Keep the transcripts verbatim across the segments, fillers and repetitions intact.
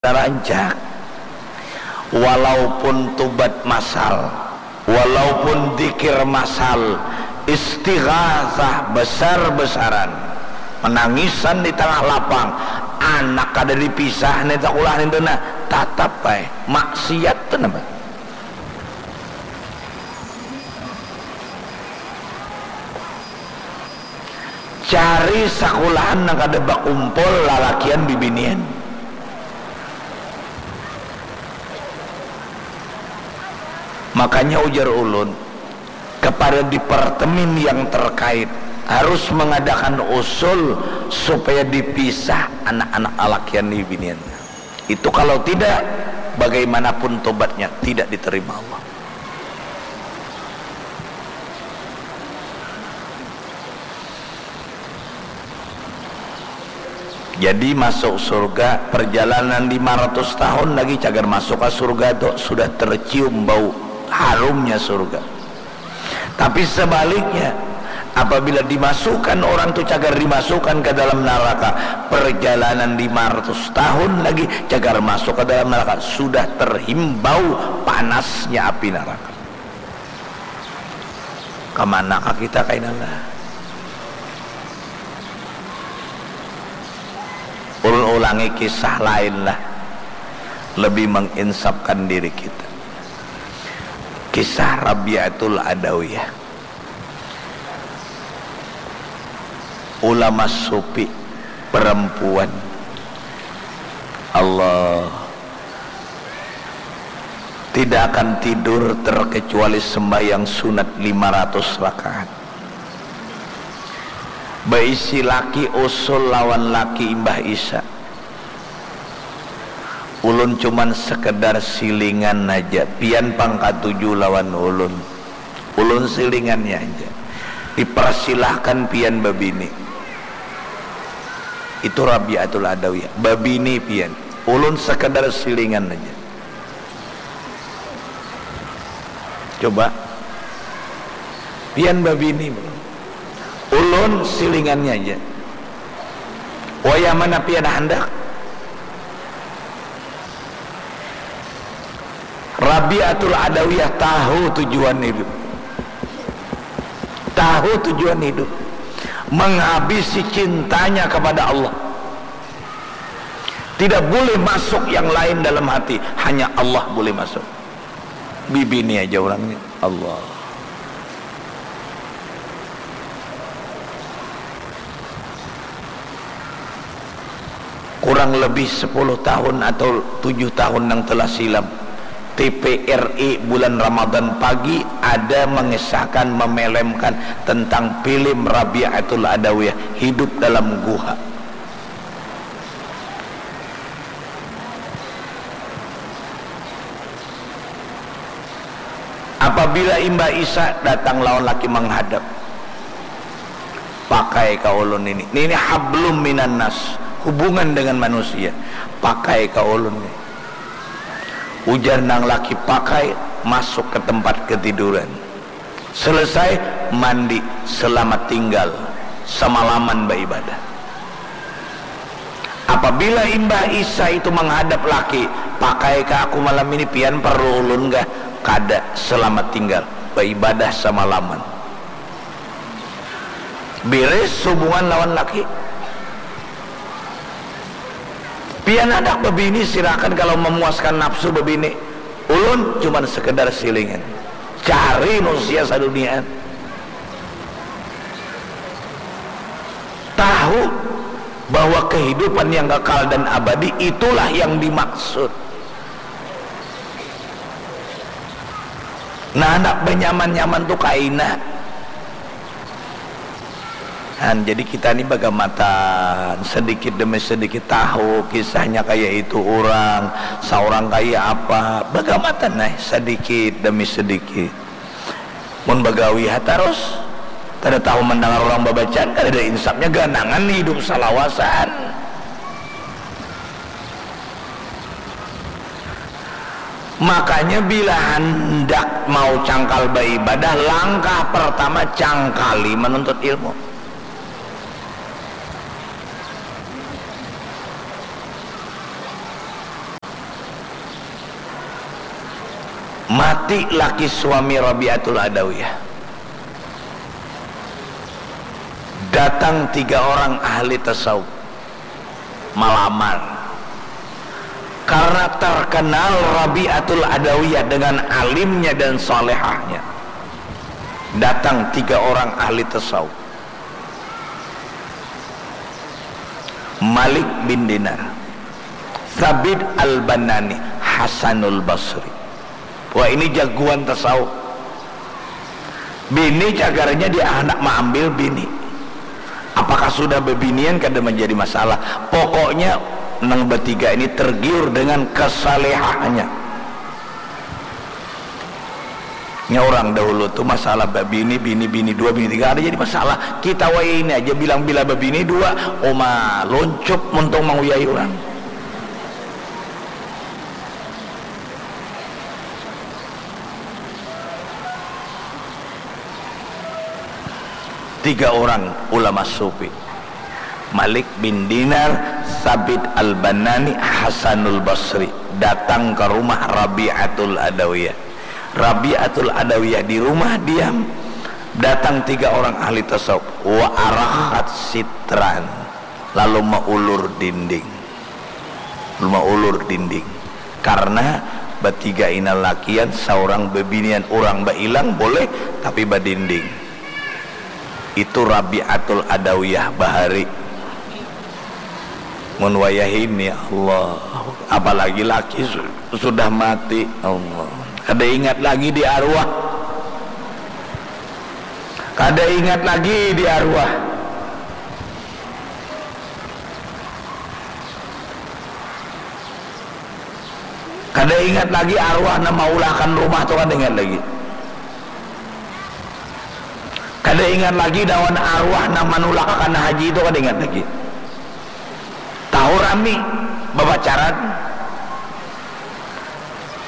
Rancak. Walaupun tubat masal, walaupun dikir masal, istighasah besar-besaran, menangisan di tengah lapang, anak kada dipisah nih sakulah nih tuh nah, tatap bae maksiat tuh napa. Cari sakulahan nang kada bakumpul lalakian bibinian. Makanya ujar ulun, kepada departemen yang terkait harus mengadakan usul supaya dipisah anak-anak lalakian bibinian. Itu kalau tidak, bagaimanapun tobatnya tidak diterima Allah. Jadi masuk surga, perjalanan lima ratus tahun lagi cagar masuk ke surga tu sudah tercium bau harumnya surga. Tapi sebaliknya, apabila dimasukkan orang tu cagar dimasukkan ke dalam neraka, perjalanan lima ratus tahun lagi cagar masuk ke dalam neraka sudah terhimbau panasnya api neraka. Kamanakah kita kaina lah? Ulun ulangi kisah lain lah, lebih menginsafkan diri kita. Kisah Rabiatul Adawiyah. Ulama sufi perempuan. Allah. Tidak akan tidur terkecuali sembahyang sunat lima ratus rakaat. Baisi laki usul lawan laki imbah isya. Ulun cuman sekedar silingan haja, pian pang katuju lawan ulun. Ulun silingannya haja. Dipersilahkan pian babini. Itu Rabiatul Adawiyah, babini pian. Ulun sekedar silingan haja. Coba. Pian babini. Ulun silingannya aja. Wayah mana pian handak? Rabiatul Adawiyah tahu tujuan hidup. Tahu tujuan hidup. Menghabisi cintanya kepada Allah. Tidak boleh masuk yang lain dalam hati, hanya Allah boleh masuk. Bibini aja orangnya, Allah. Kurang lebih sepuluh tahun atau tujuh tahun yang telah silam, T V R I bulan Ramadan pagi ada mengisahkan, memelemkan tentang film Rabiatul Adawiyah, Hidup dalam Guha. Apabila imbah isya datang lawan laki menghadap, pakai ka ulun ini. Ini hablum minan nas, hubungan dengan manusia. Pakai ka ulun ini. Ujar nang laki pakai, masuk ke tempat ketiduran. Selesai mandi, selamat tinggal, semalaman baibadah. Apabila imbah isya itu menghadap laki, pakai ka aku malam ini, pian perlu ulun kah? Kada, selamat tinggal, baibadah semalaman. Beres hubungan lawan laki. Pian handak babini, silakan kalau memuaskan nafsu babini. Ulun cuman sekedar silingan. Cari manusia saduniaan. Tahu bahwa kehidupan yang kekal dan abadi itulah yang dimaksud. Nah, handak banyaman-nyaman tu kaina. Han, jadi kita ni bagamatan, sedikit demi sedikit tahu kisahnya kaya itu urang, saurang kaya apa, bagamatan ai, sedikit demi sedikit. Mun bagawi ha tarus, kada tahu mandangar urang babacaan, kadada insapnya, ganangan hidup salawasan. Makanya bila handak mau cangkal baibadah, langkah pertama cangkali menuntut ilmu. Mati laki suami Rabi'atul Adawiyah. Datang tiga orang ahli tasawuf malamar. Karena terkenal Rabi'atul Adawiyah dengan alimnya dan salehahnya. Datang tiga orang ahli tasawuf. Malik bin Dinar, Sabit Al-Banani, Hasanul Basri. Wah, ini jagoan tasawuf. Bini cagarnya dia hendak maambil bini. Apakah sudah bebinian kada menjadi masalah. Pokoknya nang betiga ini tergiur dengan kesalehannya. Nya orang dahulu tu masalah babini, bini, bini dua, bini tiga ada jadi masalah. Kita wayah ini aja bilang bila babini dua, uma luncup muntung manguyai orang. Tiga orang ulama sufi, Malik bin Dinar, Sabit Al-Banani, Hasanul Basri datang ke rumah Rabi'atul Adawiyah. Rabi'atul Adawiyah di rumah diam, datang tiga orang ahli tasawuf, wa arakhat sitran, lalu maulur dinding. Maulur dinding. Karena batiga ina lakian, saurang bebinian, urang bailang boleh, tapi badinding. Itu Rabi'atul Adawiyah bahari. Mun wayah ini, Allah, apalagi laki su- sudah mati, Allah. Kada ingat lagi di arwah. Kada ingat lagi di arwah. Kada ingat lagi arwah nang maulakan rumah tu, kada ingat lagi. Kada ingat lagi lawan arwah nang manulakan haji tu, kada ingat lagi. Tahu rami bapacaran.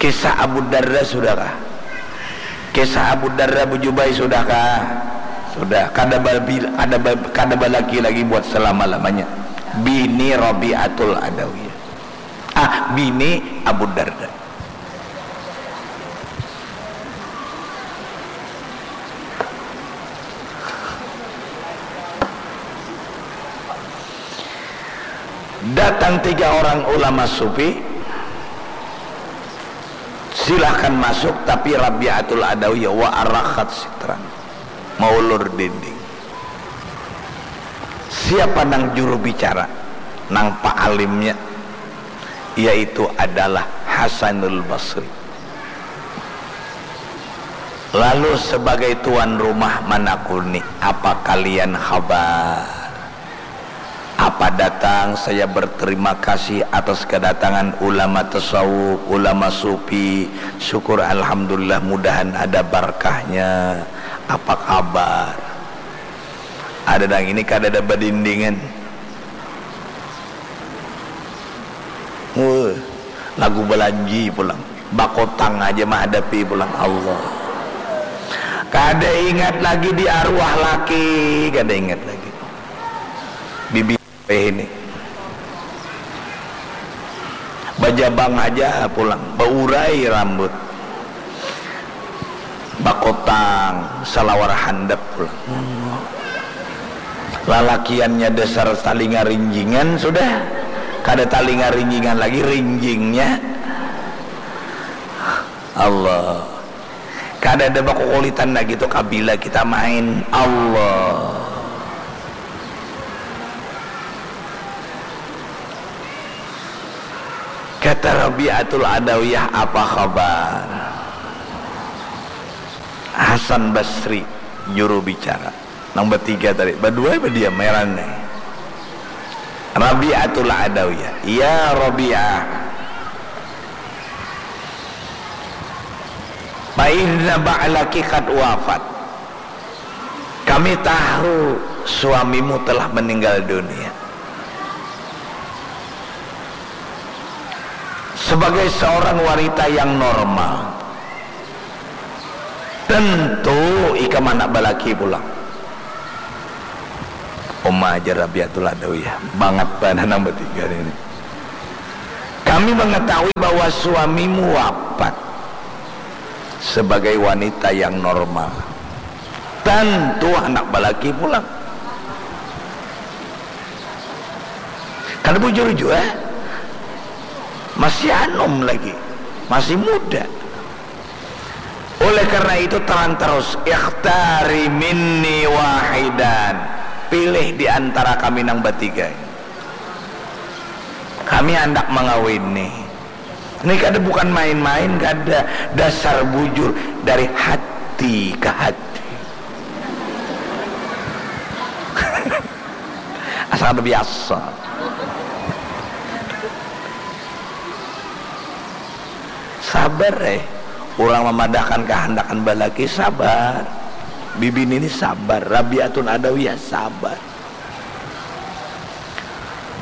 Kisah Abu Darda sudahkah? Kisah Abu Darda Bujubai sudahkah? Sudah. Kada babil, kada ba, kada balaki lagi buat selama-lamanya. Bini Rabi'atul Adawiyah. Ah, bini Abu Darda. Datang tiga orang ulama sufi, silahkan masuk, tapi Rabi'atul Adawiyah wa arakhat sitran, maulur dinding. Siapa nang juru bicara, nang paalimnya, yaitu adalah Hasanul Basri. Lalu sebagai tuan rumah manakuni, apa kalian khabar? Apa datang? Saya berterima kasih atas kedatangan ulama tasawuf, ulama sufi. Syukur alhamdulillah, mudahan ada barkahnya. Apa kabar? Ada nang ini kada ada badindingan. Wah, lagu balanji pulang. Bakotang aja mahadapi pulang. Allah. Kada ingat lagi di arwah laki, kada ingat lagi. Bibi ini. Bajabang aja pulang, baurai rambut. Bakotang, salawar handap pulang. Lalakiannya dasar talinga rinjingan sudah. Kada talinga rinjingan lagi, rinjingnya. Allah. Kada ada bakukulitan lagi tu, kabila kita main. Allah. Kata Rabi'atul Adawiyah, apa khabar? Hasan Basri, juru bicara. Nang batiga tadi, badua badiam, heran nih. Rabi'atul Adawiyah, ya Rabi'ah, fa inna ba'laki qad wafat. Kami tahu suamimu telah meninggal dunia. Sebagai seorang wanita yang normal, tentu ikam anak balaki pulang. Uma ajar Rabiatul Adawiyah, bangat banar nang batiga ini. Kami mengetahui bahwa suamimu wafat. sebagai wanita yang normal. Tentu handak balaki pulang. Kada bujur jua. Masih anum lagi. Masih muda. Oleh karena itu, taran terus, "Ikhtari minni wahidan." Pilih di antara kami nang batiga. Kami handak mangawini. Ini kada bukan main-main, kada. Dasar bujur dari hati ke hati. Asa kada biasa. Sabar, eh. Urang mamadahkan kahandakan balaki, sabar. Bibini ni sabar. Rabiatul Adawiyah sabar.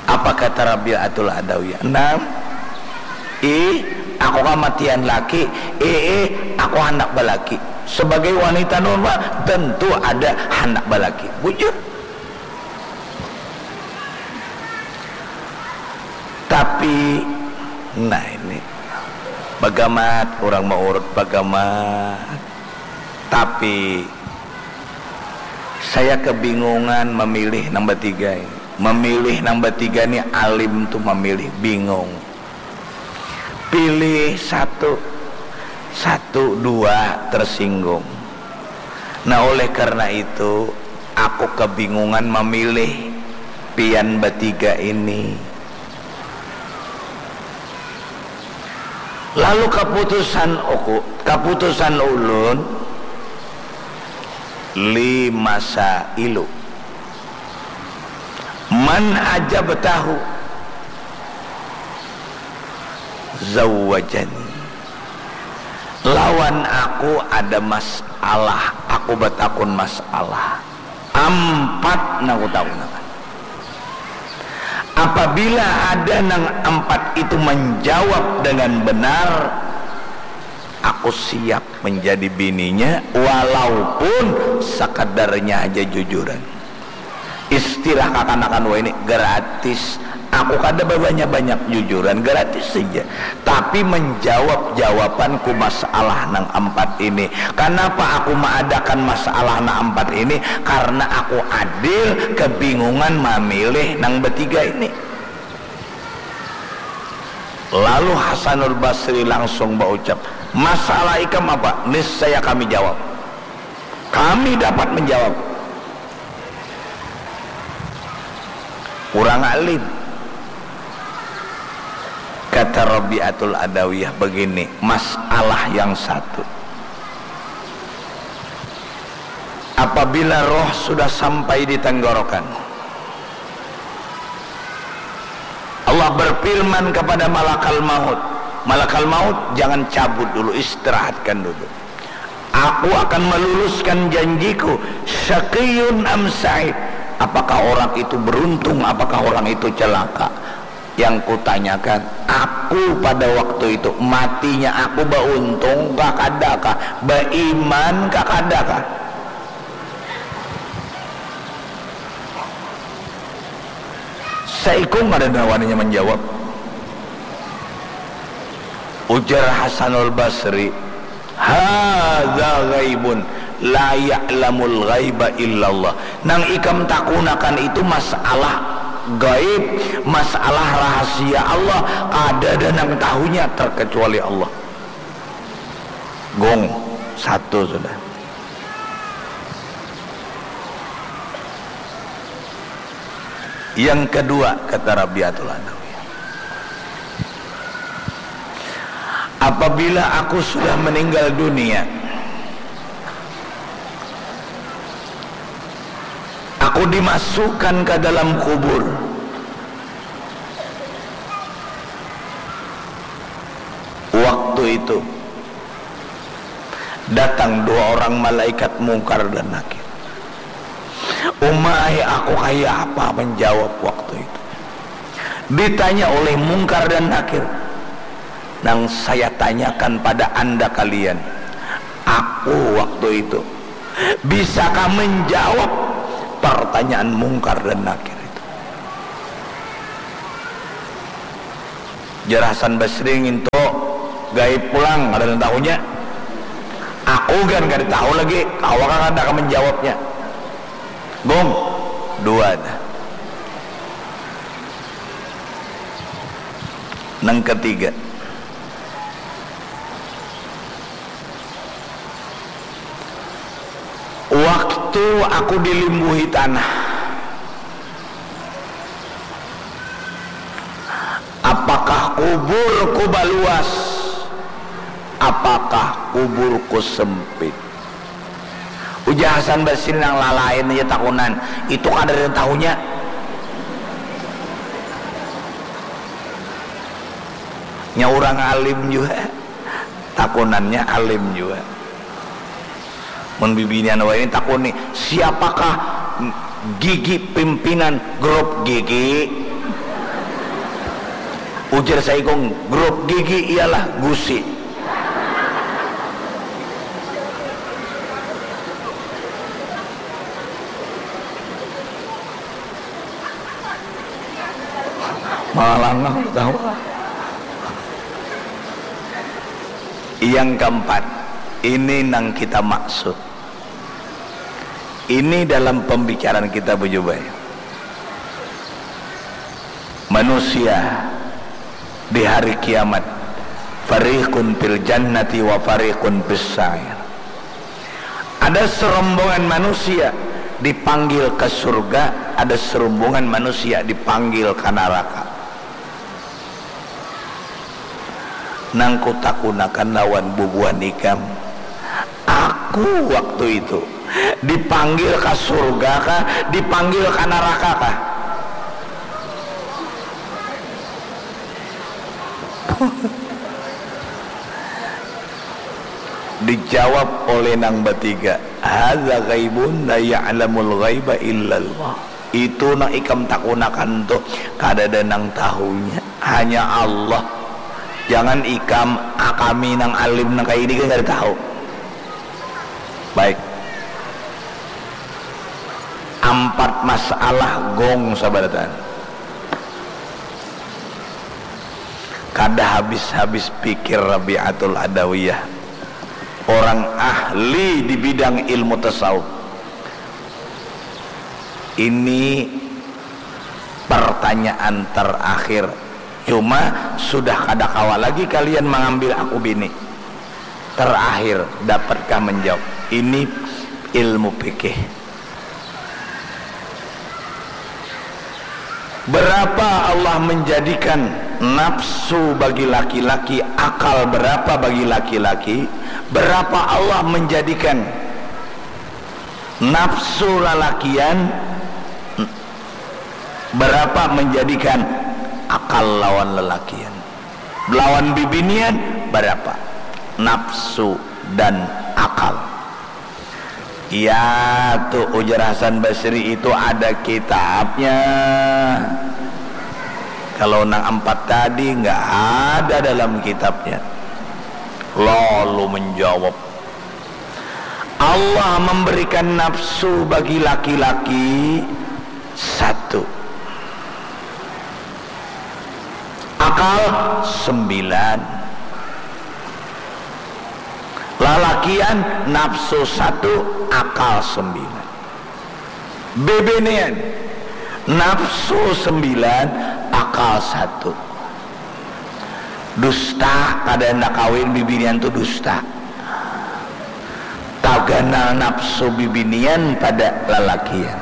Apa kata Rabiatul Adawiyah? Nah, ih, aku kamatian laki. Eh, eh, aku handak balaki. Sebagai wanita normal, tentu ada handak balaki. Bujur. Tapi, nah ini, bagamat urang maurut, bagamat. Tapi, saya kebingungan memilih nang batiga ini. Memilih nang batiga ni alim tu memilih, bingung. Pilih satu, satu, dua tersinggung. Nah, oleh karena itu, aku kebingungan memilih pian batiga ini. Lalu kaputusan aku, kaputusan ulun, lima sailu. Man ajabtahu zawwajani. Lawan aku ada masalah, aku batakun masalah. Ampat nang kutakunakan. Apabila ada nang ampat itu manjawab dengan benar, aku siap menjadi bininya, walaupun sakadarnya haja jujuran. Istilah kakanakan wahini, gratis. Aku kada babanyak-banyak jujuran, gratis saja. Tapi menjawab jawabanku masalah nang ampat ini. Kanapa aku maadakan masalah nang ampat ini? Karna aku adil, kebingungan mamilih nang batiga ini. Lalu Hasanul Basri langsung baucap, "Masalah ikam apa? Niscaya kami jawab. Kami dapat menjawab." Urang alim. Kata Rabiatul Adawiyah begini, masalah yang satu. Apabila roh sudah sampai di tenggorokan, Allah berfirman kepada malakal maut, "Malakal maut, jangan cabut dulu, istirahatkan dulu. Aku akan meluluskan janjiku, syaqiyun am sa'id. Apakah orang itu beruntung, apakah orang itu celaka?" Yang kutanyakan, aku pada waktu itu, matinya aku bauntung kah, kada kah, baiman kah, kada kah? Saikung kada waninya manjawab. Ujar Hasanul Basri, "Hadza ghaibun la ya'lamul ghaiba illallah." Nang ikam takunakan itu masalah gaib, masalah rahasia Allah, kadada nang tahunya terkecuali Allah. Gong, satu sudah. Yang kedua, kata Rabiatul Adawiyah, apabila aku sudah meninggal dunia, aku dimasukkan ke dalam kubur. Waktu itu, datang dua orang malaikat Mungkar dan Nakir. Umai, aku kaya apa menjawab waktu itu? Ditanya oleh Mungkar dan Nakir, nang saya tanyakan pada anda kalian, aku waktu itu bisakah menjawab pertanyaan Mungkar dan Nakir itu? Jar Hasan Basri, ngintu gaib pulang, kada nang tahunya. Ugan kada tahu lagi, kawa kah kada ka menjawabnya. Gong, dua dah. Nang ketiga, waktu aku dilimbuhi tanah, apakah kuburku baluas? Apakah kuburku sempit? Ujar Hasan Basri nang lalain aja takunan, itu kada ada tahunya. Nya urang alim jua, takunannya alim jua. Mun bibinian wayah ini takuni, siapakah gigi pimpinan grup gigi? Ujar saikung, grup gigi ialah gusi. Malah nang tahu. Yang keempat, ini nang kita maksud. Ini dalam pembicaraan kita bejubai. Manusia di hari kiamat, fariqun fil jannati wa fariqun fis sa'ir. Ada serombongan manusia dipanggil ke surga, ada serombongan manusia dipanggil ke neraka. Nang kutakunakan lawan bubuhan ikam, aku waktu itu dipanggil ka surga kah, dipanggil ka naraka kah? Dijawab oleh nang batiga, hadza ghaibun la ya'lamul ghaiba illallah. Itu nang ikam takunakan tu, kadada nang tahunya, hanya Allah. Jangan ikam, ah, kami nang alim nang kaya ini kan kada tahu. Baik. Ampat masalah gong sabarataan. Kada habis-habis pikir Rabi'atul Adawiyah, orang ahli di bidang ilmu tasawuf. Ini pertanyaan terakhir. Cuma sudah kada kawa lagi kalian mengambil aku bini. Terakhir, dapatkah menjawab? Ini ilmu fikih. Berapa Allah menjadikan nafsu bagi laki-laki, akal berapa bagi laki-laki, berapa Allah menjadikan nafsu lalakian, berapa menjadikan akal lawan lalakian. Lawan bibinian, berapa? Nafsu dan akal. Ya, tu ujar Hasan Basri itu ada kitabnya. Kalau nang empat tadi nggak ada dalam kitabnya. Lalu menjawab, Allah memberikan nafsu bagi laki-laki satu. Akal sembilan. Lalakian nafsu satu, akal sembilan. Bibinian nafsu sembilan, akal satu. Dusta, kada handak kawin bibinian tu dusta. Taganal nafsu bibinian pada lalakian.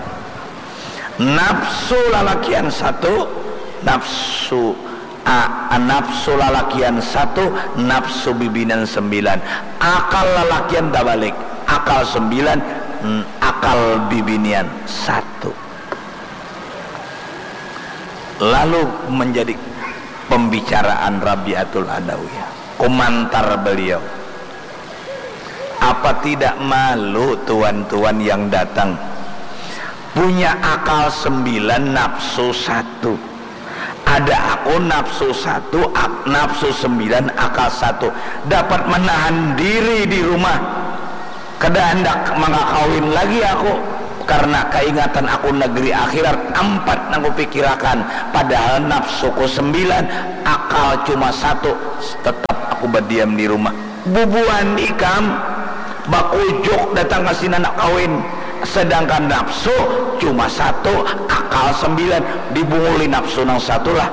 Nafsu lalakian satu, nafsu, a, nafsu lalakian satu, nafsu bibinian sembilan. Akal lalakian tabalik, akal sembilan, n-, akal bibinian satu. Lalu menjadi pembicaraan Rabiatul Adawiyah, komentar beliau. Apa tidak malu tuan-tuan yang datang? Punya akal sembilan, nafsu satu. Ada aku nafsu satu, ak-, nafsu sembilan, akal satu. Dapat menahan diri di rumah. Kada handak mangakawin lagi aku. Karena kaingatan aku negeri akhirat, ampat nang kupikirakan. Padahal nafsuku sembilan, akal cuma satu. Tetap aku berdiam di rumah. Bubuhan ikam, Bakujuk datang ka sini handak kawin, sedangkan nafsu cuma satu, akal sembilan, dibunguli nafsu nang satu lah.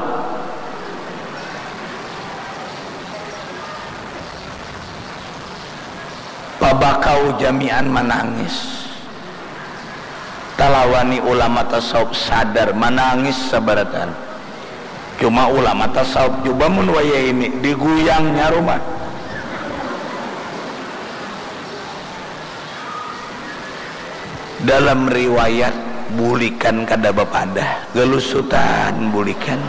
Pabakau jamian manangis. Talawani ulama tasawuf sadar manangis sabarataan. Cuma ulama tasawuf jua mun wayah ini diguyangnya rumah. Dalam riwayat bulikan kada bapadah, galusutan bulikan.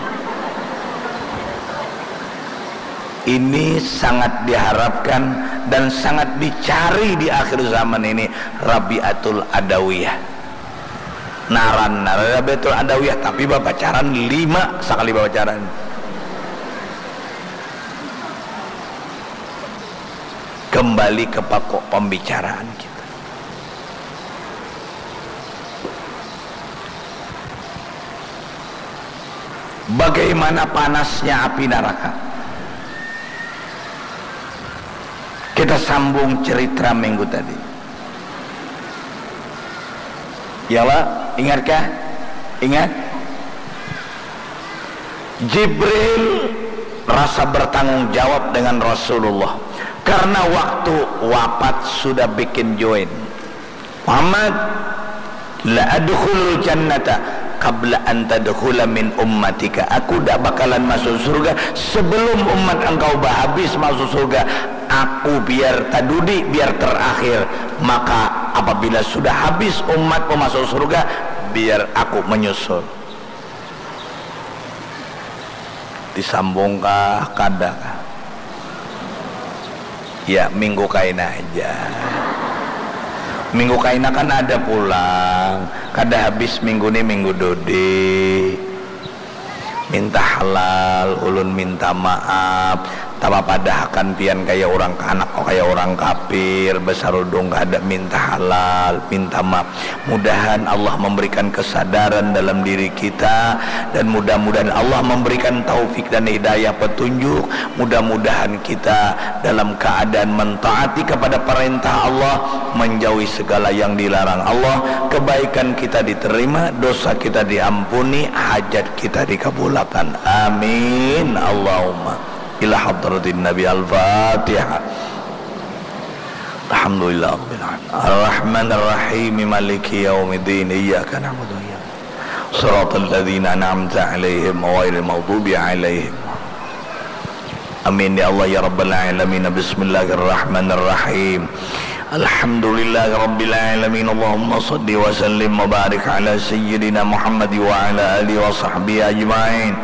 Ini sangat diharapkan dan sangat dicari di akhir zaman ini, Rabiatul Adawiyah. Naran, naran Rabiatul Adawiyah, tapi bapacaran lima sakali bapacaran. Kembali ke pokok pembicaraan kita. Bagaimana panasnya api neraka? Kita sambung cerita minggu tadi. Ya Allah, ingatkah? Ingat? Jibril rasa bertanggung jawab dengan Rasulullah karena waktu wafat sudah bikin join. Muhammad, la adkhulul jannata qabla an tadkhula min ummatika. Aku dak bakalan masuk surga sebelum umat engkau bahabis masuk surga. Aku biar tadudi, biar terakhir. Maka apabila sudah habis umatmu masuk surga, biar aku menyusul. Disambungkah? Kadakah? Ya, minggu kaina aja. Minggu kaina kan ada pulang. Kada habis minggu ni, minggu dudi. Minta halal, ulun minta maaf. Tapapadahakan pian kaya urang kanak, kaya urang kapir, basarudung kada minta halal, minta maaf. Mudahan Allah memberikan kesadaran dalam diri kita, dan mudah-mudahan Allah memberikan taufik dan hidayah petunjuk. Mudah-mudahan kita dalam keadaan mentaati kepada perintah Allah, menjauhi segala yang dilarang Allah, kebaikan kita diterima, dosa kita diampuni, hajat kita dikabulakan. Amin. Allahumma. Ila hadratin Nabi. Al-Fatihah. Alhamdulillah Rabbil Alamin. Ar-Rahmanir Rahim. Maliki yaumiddin. Iyyaka na'budu wa iyyaka. Siratal ladzina an'amta 'alaihim ghairil maghdubi 'alaihim. Amin ya Allah ya Rabbal Alamin. Bismillahirrahmanirrahim. Alhamdulillahirabbil alamin. Allahumma salli wa sallim wa barik ala sayyidina Muhammad wa ala alihi wa sahbihi ajmain.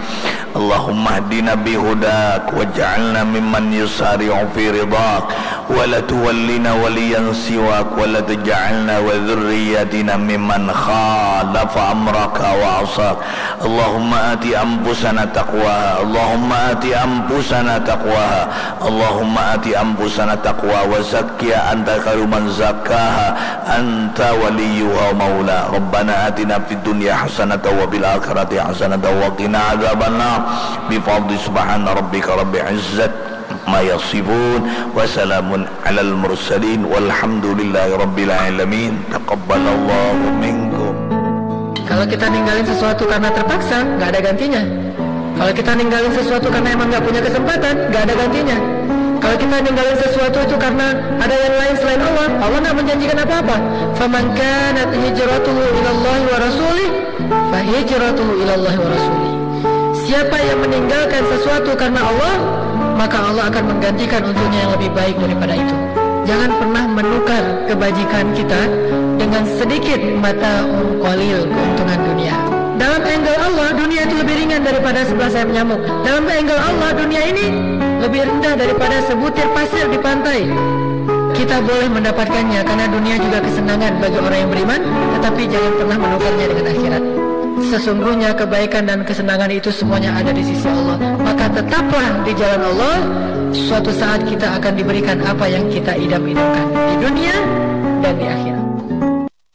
Allahumma hdina bihudak waj'alna mimman yusari'u fi ridak, wa la tuwallina waliyan siwak, wa la taj'alna wa dzurriyyatina mimman khalafa amraka wa asak. Allahumma ati anfusana taqwaha. Allahumma ati anfusana taqwaha. Allahumma ati anfusana taqwaha wa zakkiha anta khairu man zakkaha anta waliyuha wa maulaha. Rabbana atina fid dunya hasanatan wa fil akhirati hasanatan wa qina adzabannar. Bi fadli subhana rabbika rabbil izzati amma yasifun. Wa salamun alal mursalin walhamdulillahi rabbil alamin. Taqabbalallahu minkum. Kalau kita ninggalin sesuatu karena terpaksa, nggak ada gantinya. Kalau kita ninggalin sesuatu karena emang nggak punya kesempatan, nggak ada gantinya. Kalau kita ninggalin sesuatu itu karena ada yang lain selain Allah, Allah nggak menjanjikan apa-apa. Faman kanat hijratuhu ilallahi wa rasulih, fa hijratuhu ilallahi wa rasulih. Siapa yang meninggalkan sesuatu karena Allah, maka Allah akan menggantikan untuknya yang lebih baik daripada itu. Jangan pernah menukar kebajikan kita dengan sedikit mata qalil keuntungan dunia. Dalam angle Allah, dunia itu lebih ringan daripada sebelah sayap nyamuk. Dalam angle Allah, dunia ini lebih rendah daripada sebutir pasir di pantai. Kita boleh mendapatkannya karena dunia juga kesenangan bagi orang yang beriman, tetapi jangan pernah menukarnya dengan akhirat. Sesungguhnya kebaikan dan kesenangan itu semuanya ada di sisi Allah. Maka tetaplah di jalan Allah, suatu saat kita akan diberikan apa yang kita idam-idamkan di dunia dan di akhirat.